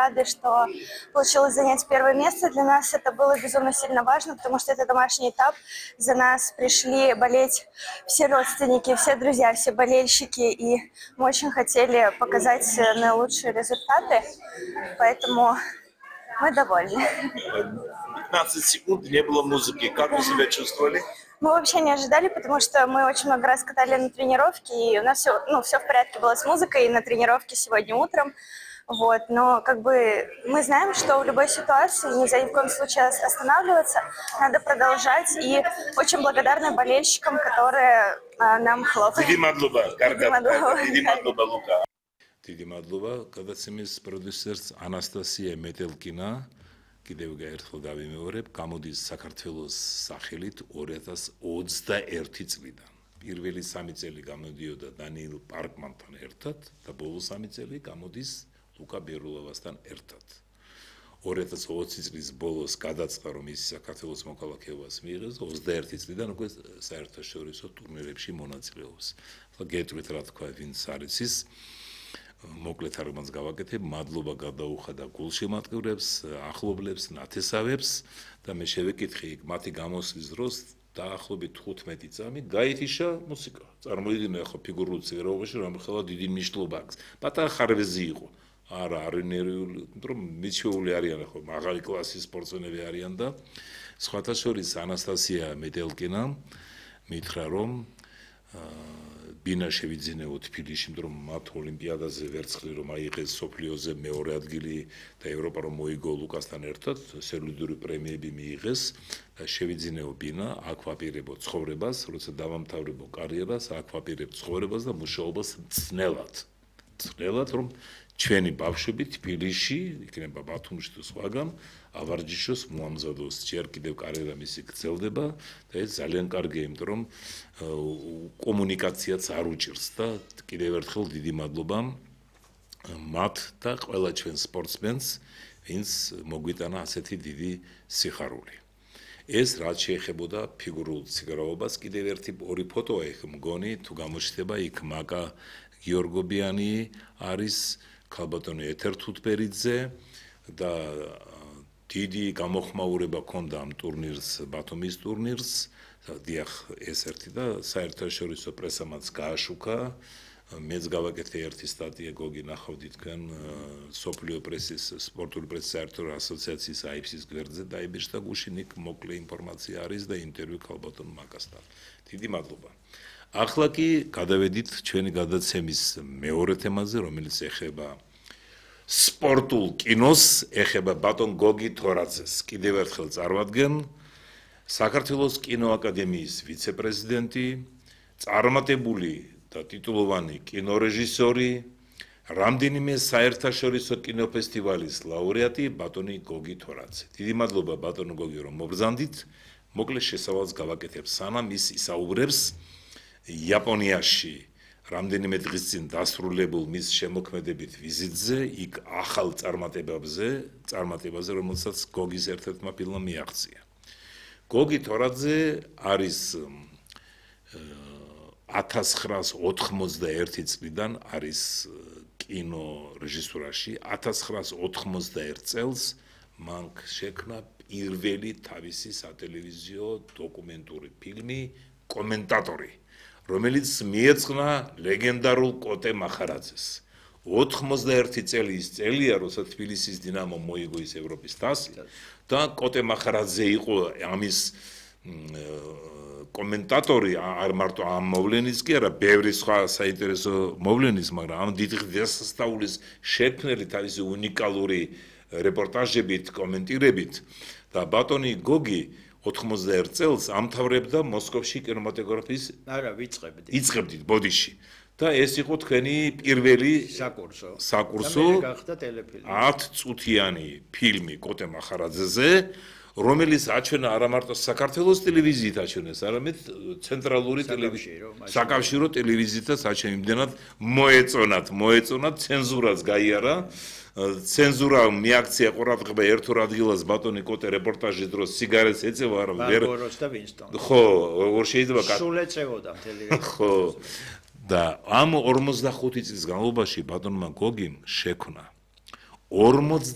рады, что получилось занять первое место. Для нас это было безумно сильно важно, потому что это домашний этап. За нас пришли болеть все родственники, все друзья, все болельщики, и мы очень хотели показать наилучшие результаты, поэтому мы довольны. 15 секунд не было музыки. Как вы себя чувствовали? Мы вообще не ожидали, потому что мы очень много раз катали на тренировке, и у нас все в порядке было с музыкой и на тренировке сегодня утром. Вот. Но мы знаем, что в любой ситуации нельзя ни в коем случае останавливаться, надо продолжать, и очень благодарны болельщикам, которые нам хлопают. დიდი მადლობა გადაცემის პროდიუსერს ანასტასია მეტელკინა. კიდევ ერთხელ დავიმეორებ, გამოდის საქართველოს სახელით 2021 წლიდან. პირველი 3 წელი გამოდიოდა დანიელ პარკმანთან ერთად და ბოლო 3 წელი გამოდის ლუკა ბერულოვასთან ერთად. 2020 წლის ბოლოს გადაწყდა, რომ ის საქართველოს მოქალაქეობას მიიღებს, 21 წლიდან უკვე საერთაშორისო ტურნირებში მონაწილეობს. ახლა გეტყვით რა თქვა ვინც არის ის მოკლედ არგმანს გავაკეთებ, მადლობა გადაუხადა გულშემატკივრებს, ახლობლებს, ნათესავებს და მე შევეკითხე მათი გამოსვლის დროს დაახლოებით 15 წამი გაითიშა მუსიკა. წარმოიდგინე ახლა ფიგურულ ციგროვაში რომ ხელა დიდი მნიშვნელობა აქვს. პატარა ხარვეზი იყო. არა, არენერიული, რომ მიჩეული არიან ახლა მაღალი კლასის სპორტსმენები არიან და სხვათა შორის ანასტასია მეტელკინა მითხრა რომ ბინა შევიძინეო თბილისში, რომ მათ ოლიმპიადაზე ვერცხლი რომ აიღეს სოფლიოზე მეორე ადგილი და ევროპა რომ მოიგო ლუკასთან ერთად, სერვიდური პრემიები მიიღეს და შევიძინეო ბინა, აქ ვაპირებო ცხოვრებას, როცა დავამთავრებო კარიერას, აქ ვაპირებ ცხოვრებას და მუშაობას მწნელად, რომ ჩვენი ბავშვები თბილისში, იქნება ბათუმში თუ სხვაგან, ავარჯიშოს მოამზადოს, ჯერ კიდევ კარიერა მისი გრძელდება და ეს ძალიან კარგია, იმიტომ რომ კომუნიკაციაც არ უჭირს და კიდევ ერთხელ დიდი მადლობა მათ და ყველა ჩვენ სპორტსმენს, ვინც მოგვიტანა ასეთი დიდი სიხარული. ეს რაც შეეხებოდა ფიგურულ ციგრაობას, კიდევ ორი ფოტოა იქ მგონი, თუ გამოჩნდება იქ მაკა გიორგობიანი არის ქალბატონი ეთერ თუთბერიძე და დიდი გამოხმაურება ჰქონდა ამ ტურნირს, ბათუმის ტურნირს, დიახ, ეს ერთი და საერთაშორისო პრესამაც გააშუქა. მეც გავაკეთე ერთი სტატია გოგი ნახავდი თქვენ სოფლიო პრესის, სპორტული პრესის საერთო ასოციაციის AIPS-ის გვერდზე დაიბეჭდა გუშინ იქ მოკლე ინფორმაცია არის და ინტერვიუ ქალბატონ მაკასთან. დიდი მადლობა. ახლა კი გადავედით ჩვენი გადაცემის მეორე თემაზე, რომელიც ეხება სპორტულ კინოს, ეხება ბატონ გოგი თორაძეს. კიდევ ერთხელ წარვადგენ საქართველოს კინოაკადემიის ვიცე-პრეზიდენტი, წარმატებული და ტიტულოვანი კინორეჟისორი, რამდენიმე საერთაშორისო კინოფესტივალის ლაურეატი ბატონი გოგი თორაძე. დიდი მადლობა ბატონო გოგი რომ მობრძანდით. მოკლე შესავალს გავაკეთებ სანამ ის ისაუბრებს იაპონიაში რამდენიმე დღის წინ დასრულებულ მის შემოქმედებით ვიზიტზე, იქ ახალ წარმატებაზე, რომელსაც გოგის ერთ-ერთმა ფილმმა მიაღწია. გოგი თორაძე არის 1991 წლიდან არის კინორეჟისურაში, 1991 წელს მან შექმნა პირველი თავისი სატელევიზიო დოკუმენტური ფილმი კომენტატორი, რომელიც მიეძღვნა ლეგენდარულ კოტე მახარაძეს. 91 წელი ის წელია, როცა თბილისის დინამომ მოიგო ის ევროპის თასი და კოტე მახარაძე იყო ამის კომენტატორი, არ მარტო ამ მოვლენის კი არა, ბევრი სხვა საინტერესო მოვლენის, მაგრამ ამ დიდი დღესასწაულის შექმნელი თავისი უნიკალური რეპორტაჟებით, კომენტირებით და ბატონი გოგი 91 წელს ამთავრებდა მოსკოვში კინემატოგრაფიის იწყებდით ბოდიში და ეს იყო თქვენი პირველი საკურსო 10 წუთიანი ფილმი კოტე მახარაძეზე, რომელიც აჩვენა არა მარტო საქართველოს ტელევიზიით აჩვენეს, არამედ ცენტრალური საკავშირო ტელევიზიითაც აჩვენა, იმდენად მოეწონათ, ცენზურაც გაიარა. ცენზურა მიაქცია ყურადღება ერთ-ორ ადგილას ბატონი კოტე რეპორტაჟის დროს სიგარეტს ეწევა, არა ვერ ხო, როგორ შეიძლება სულ ეწევოდა მთელი ხო და ამ 45 წლის განმავლობაში ბატონმა გოგიმ შექმნა 50